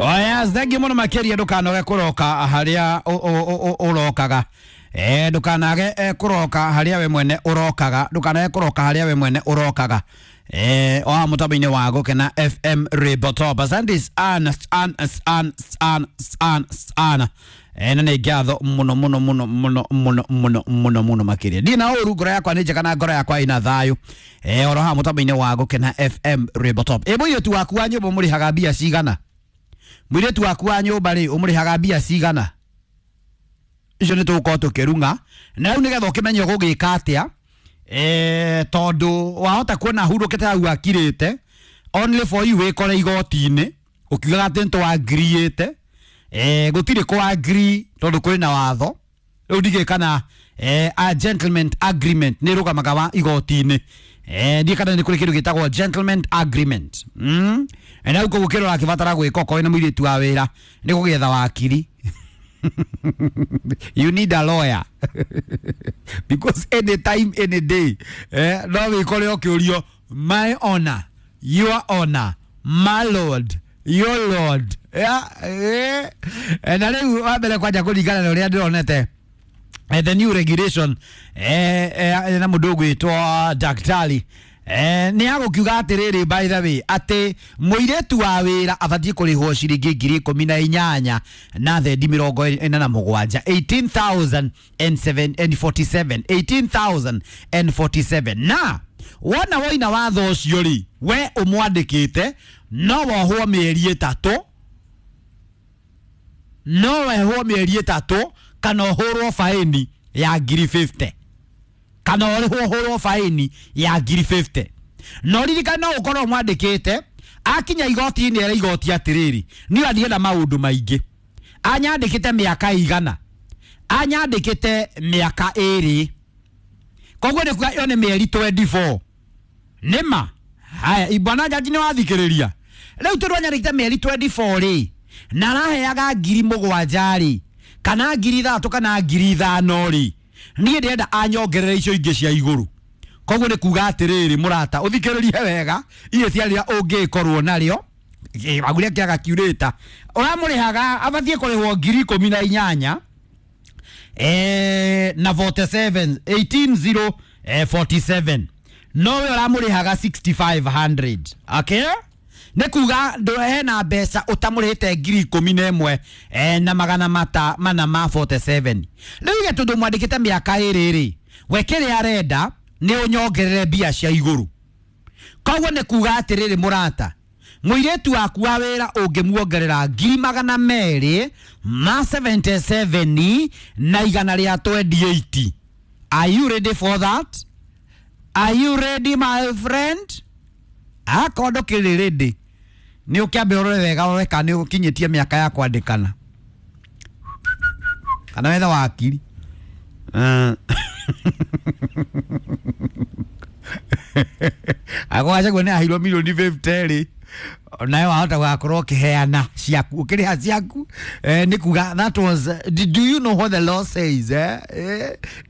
Oya, thengi muno makiria ndukanoge kuroka haria urokaga. Ndukanage kuroka haria we mwene urokaga, ndukanage kuroka haria we mwene urokaga. Oha mutambo-inĩ wa Gũkena FM Ribotop. Asante sana sana sana sana sana sana. Na nĩ ngatho mũno mũno mũno mũno mũno mũno mũno mũno makĩria. Ndirĩ na ũru, ngoro yakwa nĩ njega na ngoro yakwa ĩna thayũ. Oro haha mũtambo-inĩ wa Gũkena FM Ribotop. Mũirĩtu waku wa nyũmba ũmũrĩhaga mbia cigana? Mũirĩtu waku wa nyũmba rĩ ũmũrĩhaga mbia cigana? Icio nĩ tũgũkorwo tũkĩrung'a na rĩu nĩgetha ũkĩmenye ũgũgĩka atĩa, tondũ wahota kuona hurũkĩte hau akirĩte only for you wĩkore igoti-inĩ ũkiugaga atĩ nĩtũagiriĩte. Gũtirĩ kũ-agree tondũ kwĩna watho rĩu ndigĩ kana a gentleman agreement nĩ ĩrũgamaga wa igoti-inĩ. Ndiĩ kana nĩ kũrĩ kĩndũ gĩtagwo gentleman agreement. Na rĩu koguo kĩrĩa ũrakĩbatara gwĩka okorwo wĩna mũirĩtu wa wĩra nĩ gũgĩetha wakiri. You need a lawyer because any time any day no wikore ũkĩũrio my honor, your honor, my lord, your lord. Yeah. Na rĩu wa mbere kwanja kũringana na ũrĩa ndĩronete the new regulation na mũndũ ũgwĩtwo daktari nĩ agũkiuga atĩrĩrĩ, by the way, atĩ mũirĩtu wa wĩra abatiĩ kũrĩhwo ciringi 18,047, 18,047, 18,047. Na wona woina watho ũcio rĩ, we ũmwandĩkĩte no wohwo mĩeri 3, no wohwo mĩeri 3 kana ũhũrwo faini ya ngiri 50, kana ũrĩhwo ũhũrwo faini ya ngiri 50. No ririkana no ũkorwo mwandĩkĩte akinya igoti-inĩ ere igoti atĩrĩrĩ, niĩ ndienda maũndũ maingĩ, anyandĩkĩte mĩaka igana, anyandĩkĩte mĩaka 2, koguo nĩ kuga ĩyo nĩ mĩeri 24. Nĩma haya bwana jaji nĩ wathikĩrĩria rĩu tondũ anyandĩkĩte mĩeri 24 rĩ, na araheaga ngiri 7 rĩ, kana ngiri 3 kana ngiri 5 rĩ, niĩ ndĩrenda anyongerere icio ingĩ cia igũrũ. Koguo nĩ kuga atĩrĩrĩ mũrata, ũthikĩrĩrie wega iye ciarĩa ũngĩkorwo narĩo wagũria kĩaga kiurĩta ũramũrĩhaga abatiĩ kũrĩhwo ngiri 18 na 47 18047, no we ũramũrĩhaga 6500. Okay, nĩ kuga hena mbeca ũtamũrĩhĩte ngiri 11 na magana mana ma 47. Rĩu ge tondũ mwandĩkĩte mĩaka 2 rĩ, we kĩrĩa arenda nĩ ũnyongerere mbia cia igũrũ. Koguo nĩ kuga atĩrĩrĩ mũrata, mũirĩtu waku wa wĩra ũngĩmuongerera ngiri 277 na 128. Are you ready for that? Are you ready my friend? Akorwo ndũkĩrĩ ready nĩ ũkĩambe ũrore wega ũrore kana nĩ ũkinyĩtie mĩaka ya kwandĩkana kana wetha wakiri. Agwaca nĩ aheirwo milioni 50 rĩ, nawe wahota gũgakorwo ũkĩheana ciaku ũkĩrĩha ciaku. Nĩ kuga that was do you know what the law says?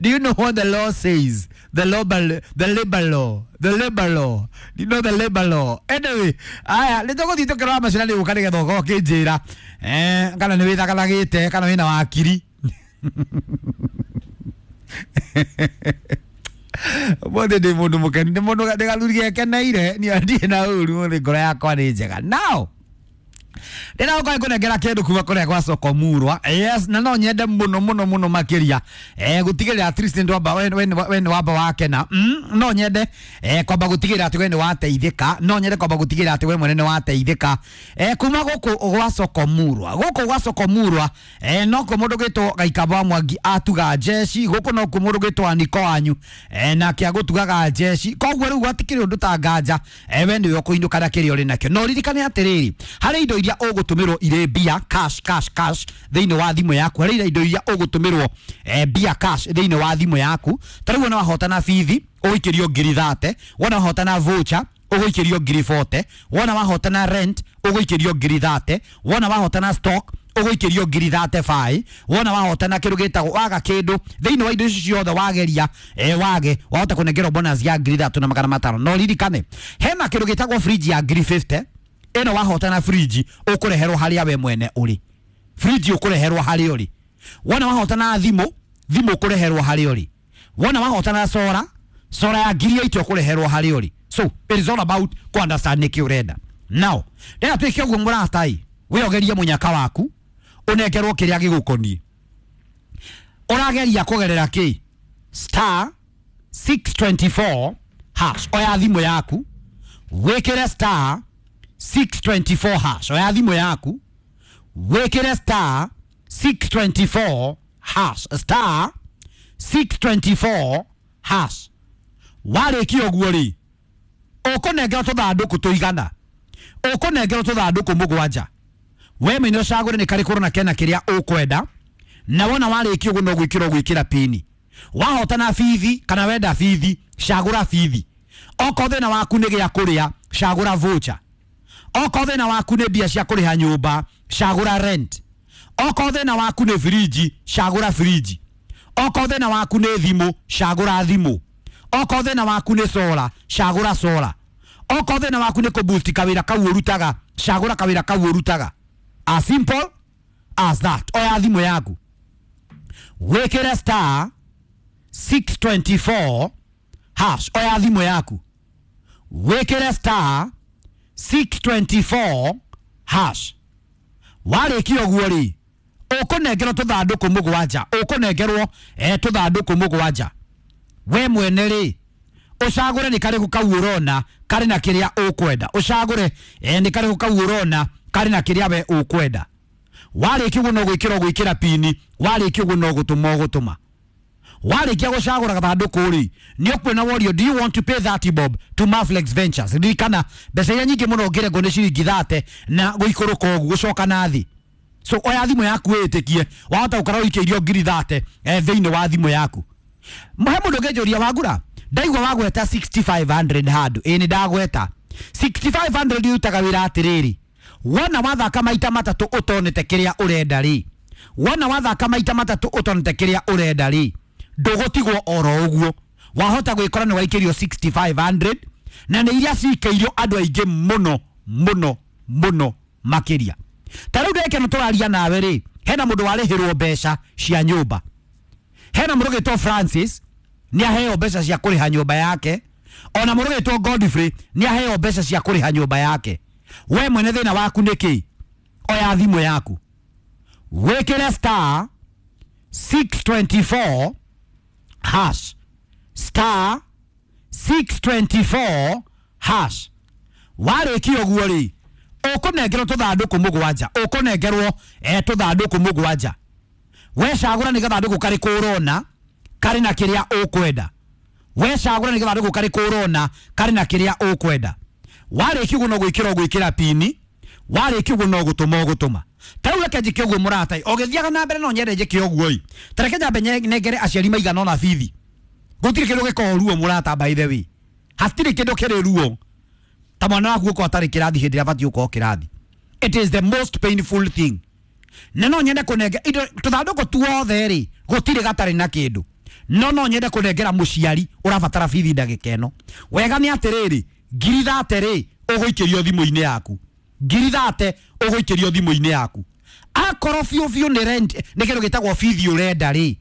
Do you know what the law says? The labor, the labor law, the labor law. Do you know the labor law? Anyway, aya nĩ tũgũthiĩ tũkĩrora macina nĩ gũka nĩgetha ũkorwo ũkĩnjĩra kana nĩ wĩthaganagĩte kana wĩna wakiri. Mothe ndĩ mũndũ mũkeni, ndĩ mũndũ ndĩ gathuri gekeneire, niĩ ndirĩ na ũru, mũthĩ ngoro yakwa nĩ njega. Now ndĩra gũkorwo ngũnengera kĩndũ kuma kũrĩa gwa Soko Murwa. Yes, na no nyende mũno mũno mũno makĩria gũtigĩrĩra at least ndwamba we nĩ wamba wakena. No nyende kwamba gũtigĩrĩra atĩ we nĩ wateithĩka, no nyende kwamba gũtigĩrĩra atĩ we mwene nĩ wateithĩka kuma gũkũ gwa Soko Murwa. Gũkũ gwa Soko Murwa no kuo mũndũ gwĩtwo Gaikamba wa Mwangi atuga jeshi, gũkũ no kuo mũndũ gwĩtwo Aniko wanyu nake agũtugaga jeshi. Koguo rĩu gwatikĩrĩ ũndũ ta nganja, we nĩwe ũkũinũka na kĩrĩa ũrĩ nakĩo. No ririkane atĩrĩrĩ, harĩ indo iria ũgũtũmĩrwo irĩ mbia cash cash cash thĩinĩ wa thimũ yaku, harĩ indo iria ũgũtũmĩrwo mbia cash thĩinĩ wa thimũ yaku. Ta rĩu wona wahotana bithi ũgũikĩrio ngiri 30, wona wahotana voucher ũgũikĩrio ngiri 40, wona wahotana rent ũgũikĩrio ngiri 30, wona wahotana stock ũgũikĩrio ngiri 35, wona wahotana kĩndũ gĩtagwo waga kĩndũ thĩinĩ wa indo icio ciothe wageria wage wahota kũnengerwo bonus ya ngiri 3,500. No ririkane hena kĩndũ gĩtagwo fridge ya ngiri 50, Ĩno wahotana fridge ũkũreherwo harĩa we mwene ũrĩ. Fridge ũkũreherwo harĩa ũrĩ. Wona wahotana thimũ, thimũ ũkũreherwo harĩa ũrĩ. Wona wahotana sora, sora ya 8,000 ũkũreherwo harĩa ũrĩ. So it is all about ku understand nĩkĩ ũrenda. Now rĩrĩa twĩke ũguo mũratai, wĩogerie mũnyaka waku ũnengerwo kĩrĩa gĩgũkoniĩ. Ũrageria kũgerera kĩ? Star 624 hash. Oya thimũ yaku wĩkĩre star 624 hash. Oya thimũ yaku wĩkĩre star 624 hash. Star 624 hash. Warĩkia ũguo rĩ, ũkũnengerwo tũthandũkũ tũigana, ũkũnengerwo tũthandũkũ mũgwanja. We mwene ũcagũre nĩ karĩkũ ũrona kena kĩrĩa ũkwenda, na wona warĩkia ũguo no gwĩkĩra ũgwĩkĩra pini. Wahotana bithi kana wenda bithi, cagũra bithi. Okorwo thĩna waku nĩ gĩa kũrĩa, cagũra voucher. Okorwo thĩna waku nĩ mbia cia kũrĩha nyũmba, cagũra rent. Okorwo thĩna waku nĩ firiji, cagũra firiji. Okorwo thĩna waku nĩ thimũ, cagũra thimũ. Okorwo thĩna waku nĩ sola, cagũra sola. Okorwo thĩna waku nĩ kũboost kawĩra kau ũrutaga, cagũra kawĩra kau ũrutaga. As simple as that. Oya thimũ yaku wĩkĩre star 624 hash. Oya thimũ yaku wĩkĩre star 624 hash. Warĩkia ũguo rĩ, ũkũnengerwo tũthandũkũ mũgwanja, ũkũnengerwo tũthandũkũ mũgwanja. We mwene rĩ, ũcagũre nĩ karĩkũ kau ũrona karĩ na kĩrĩa ũkwenda. Ũcagũre nĩ karĩkũ kau ũrona karĩ na kĩrĩa we ũkwenda. Warĩkia ũguo no gwĩkĩra ũgwĩkĩra pini, warĩkia ũguo no gũtũma ũgũtũma. Warĩkia gũcagũra gathandũkũ rĩ, nĩ ũkuona worio, do you want to pay 30 bob to Maflex Ventures? Ririkana mbeca iria nyingĩ mũno ũngĩrengwo nĩ ciringi 30 na gũikũrũka ũguo gũcoka na thĩ. So oya thimũ yaku wĩtĩkie, wahota gũkorwo ũikĩirio 30,000 thĩinĩ wa thimũ yaku. He mũndũ ũngĩnjũria, Wangura, ndaigua wagweta 6500 handũ. Ĩĩ nĩ ndagweta 6500. Irutaga wĩra atĩrĩrĩ, wona wathaka maita matatũ ũtonete kĩrĩa ũrenda rĩ, wona wathaka maita matatũ ũtonete kĩrĩa ũrenda rĩ, ndũgũtigwo oro ũguo. Wahota gwĩkora nĩ waikĩrio 6500, na nĩ iria cikĩirio andũ aingĩ mũno mũno mũno makĩria. Ta rĩu ndagĩka ĩno tũraria nawe rĩ, hena mũndũ warĩhĩrwo mbeca cia nyũmba. Hena mũndũ ũgĩtwo Francis nĩ aheo mbeca cia kũrĩha nyũmba yake. Ona mũndũ ũgĩtwo Godfrey nĩ aheo mbeca cia kũrĩha nyũmba yake. We mwene thĩna waku nĩ kĩ? Oya thimũ yaku wĩkĩre star 624 hash. Star 624 hash. Warĩkia ũguo rĩ, ũkũnengerwo tũthandũkũ mũgwanja, ũkũnengerwo tũthandũkũ mũgwanja. We cagũra nĩ gathandũkũ karĩkũ ũrona karĩ na kĩrĩa ũkwenda. We cagũra nĩ gathandũkũ karĩkũ ũrona karĩ na kĩrĩa ũkwenda. Warĩkia ũguo no gwĩkĩra ũgwĩkĩra pini, warĩkia ũguo no gũtũma ũgũtũma. Ta rĩu reke njĩke ũguo mũratai, o gĩthiaga na mbere no nyende njĩke ũguo ĩ. Ta reke nyambe nengere aciari maigana ũna bithi. Gũtirĩ kĩndũ gĩkoragwo ruo mũrata, by the way. Hatirĩ kĩndũ kĩrĩ ruo ta mwana waku gũkorwo atarĩ kĩrathi hĩndĩ ĩrĩa abatiĩ gũkorwo kĩrathi. It is the most painful thing. Na no nyende kũnenge indo tũthandũkũ tuothe rĩ, gũtirĩ gatarĩ na kĩndũ. No no nyende kũnengera mũciari ũrabatara bithi ndagĩka ĩno. Wega nĩ atĩrĩrĩ, 30,000 rĩ, ũgũikĩrio thimũ-inĩ yaku. 30,000 ũgũikĩrio thimũ-inĩ yaku. Akorwo biũ biũ nĩ rent, nĩ kĩndũ gĩtagwo bithi ũrenda rĩ,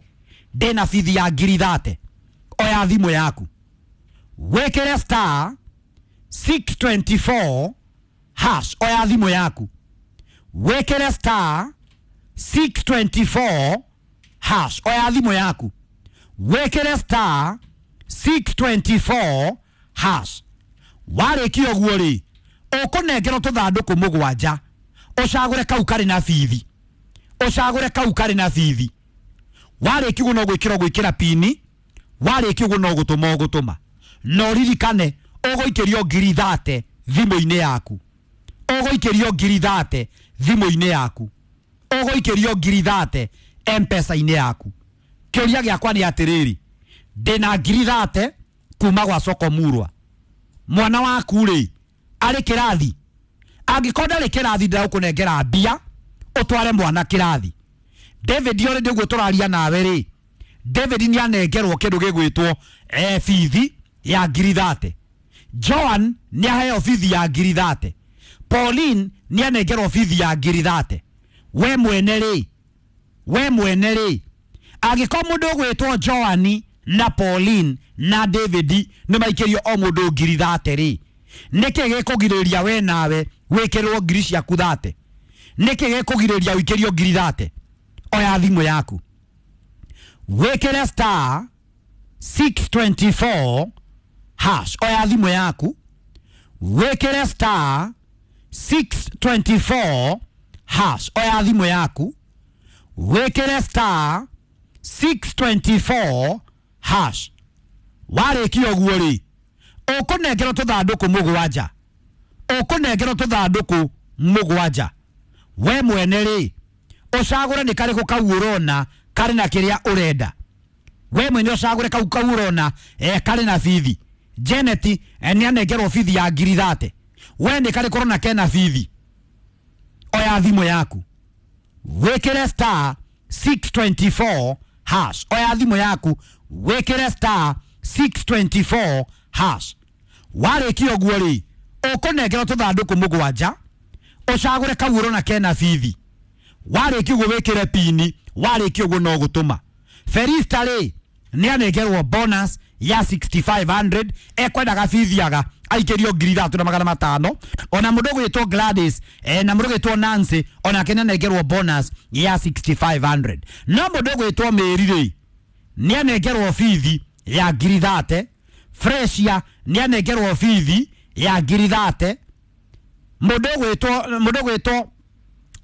ndĩna bithi ya 30,000. Oya thimũ yaku wĩkĩre star 624 hash. Oya thimũ yaku wĩkĩre star 624 hash. Oya thimũ yaku wĩkĩre star 624 hash. Warĩkia ũguo rĩ, ũkũnengerwo tũthandũkũ mũgwanja, ũcagũre kau karĩ na bithi, ũcagũre kau karĩ na bithi. Warĩkia ũguo no gwĩkĩra ũgwĩkĩra pini, warĩkia ũguo no gũtũma ũgũtũma. No ririkane ũgũikĩrio 30,000 thimũ-inĩ yaku, ũgũikĩrio 30,000 thimũ-inĩ yaku, ũgũikĩrio 30,000 M-Pesa-inĩ yaku. Kĩũria gĩakwa nĩ atĩrĩrĩ, ndĩna 30,000 kuma gwa Soko Murwa. Mwana waku rĩ, arĩ kĩrathi? Angĩkorwo ndarĩ kĩrathi, ndĩragũkũnengera mbia ũtware mwana kĩrathi. David already ũguo tũraria nawe rĩ, David nĩ anengerwo kĩndũ gĩgwĩtwo bithi ya 30,000. Joan nĩ aheo bithi ya 30,000. Pauline nĩ anengerwo bithi ya ngiri 30. We mwene rĩ, we mwene rĩ, angĩkorwo mũndũ ũgwĩtwo Joani na Pauline na David nĩ maikĩrio o mũndũ ngiri 30 rĩ, nĩkĩ gĩkũgirĩrĩria we nawe wĩkĩrwo ngiri ciaku 30? Nĩkĩ gĩkũgirĩrĩria ũikĩrio ngiri 30? Oya thimũ yaku wĩkĩre star 624 hash. Oya thimũ yaku wĩkĩre star 624 hash. Oya thimũ yaku wĩkĩre star 624 hash. Warĩkia ũguo rĩ, ũkũnengerwo tũthandũkũ mũgwanja, ũkũnengerwo tũthandũkũ mũgwanja. We mwene rĩ, ũcagũre nĩ karĩkũ kau ũrona karĩ na kĩrĩa ũrenda. We mwene ũcagũre kau kau ũrona karĩ na bithi. Janet nĩ anengerwo bithi ya ngiri 30. We nĩ karĩkũ ũrona kena bithi? Oya thimũ yaku wĩkĩre star 624 hash. Oya thimũ yaku wĩkĩre star 624 hash. Warĩkia ũguo rĩ, ũkũnengerwo tũthandũkũ mũgwanja, ũcagũre kau ũrona kena bithi. Warĩkia ũguo wĩkĩre pini, warĩkia ũguo no gũtũma. Felista rĩ, nĩ anengerwo bonus ya 6500, ekwendaga bithiaga aikĩrio ngiri 3500. Ona mũndũ ũgwĩtwo Gladys na mũndũ ũgwĩtwo Nancy onake nĩ anengerwo bonus ya 6500. No mũndũ ũgwĩtwo Mary rĩ, nĩ anengerwo bithi ya ngiri 30. Freshia nĩ anengerwo bithi ya ngiri 30. Mũndũ ũgwĩtwo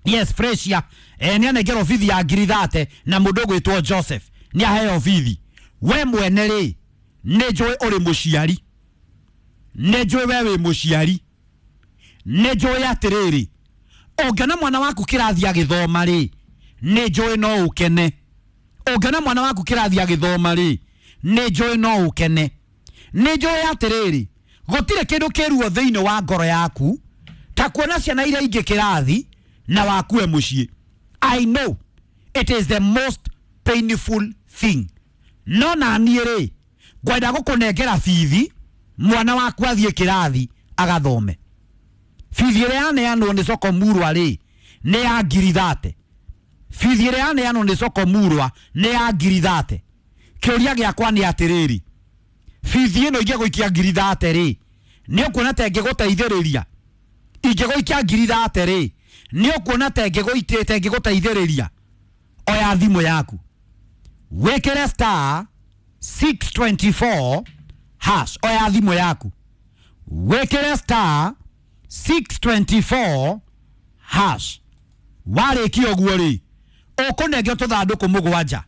yes Freshia nĩ anengerwo bithi ya ngiri 30, na mũndũ ũgwĩtwo Joseph nĩ aheo bithi. We mwene rĩ, nĩ njũĩ ũrĩ mũciari, nĩ njũĩ we wĩ mũciari, nĩ njũĩ atĩrĩrĩ, ũngĩona mwana waku kĩrathi agĩthoma rĩ, nĩ njũĩ no ũkene. Ũngĩona mwana waku kĩrathi agĩthoma rĩ, nĩ njũĩ no ũkene. Nĩ njũĩ atĩrĩrĩ, gũtirĩ kĩndũ kĩruo thĩinĩ wa ngoro yaku ta kuona ciana iria ingĩ kĩrathi na wakue mũciĩ. I know it is the most painful thing. No na niĩ rĩ, ngwenda gũkũnengera bithi mwana waku athiĩ kĩrathi agathome. Bithi ĩrĩa yaneanwo nĩ Soko Murwa rĩ, nĩ ya ngiri 30. Bithi ĩrĩa yaneanwo nĩ Soko Murwa nĩ ya ngiri 30. Kĩũria gĩakwa nĩ atĩrĩrĩ, bithi ĩno ingĩgũikia ngiri 30 rĩ, nĩ ũkuona ta ĩngĩgũteithĩrĩria? Ingĩgũikia ngiri 30 rĩ, nĩ ũkuona ta ĩngĩgũteithĩrĩria? Oya thimũ yaku wĩkĩre star 624 hash. Oya thimũ yaku wĩkĩre star 624 hash. Warĩkia ũguo rĩ, ũkũnengerwo tũthandũkũ mũgwanja,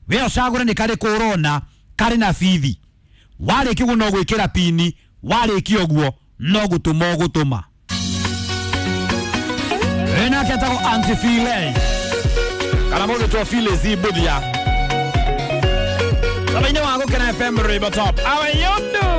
we ũcagũre nĩ karĩkũ ũrona karĩ na bithi. Warĩkia ũguo no gwĩkĩra pini, warĩkia ũguo no gũtũma ũgũtũma. Nake etagwo Auntie File kana mũgĩtwo File Zibuthia. Thamainĩ wa Gũkena FM River Top. How are you doing?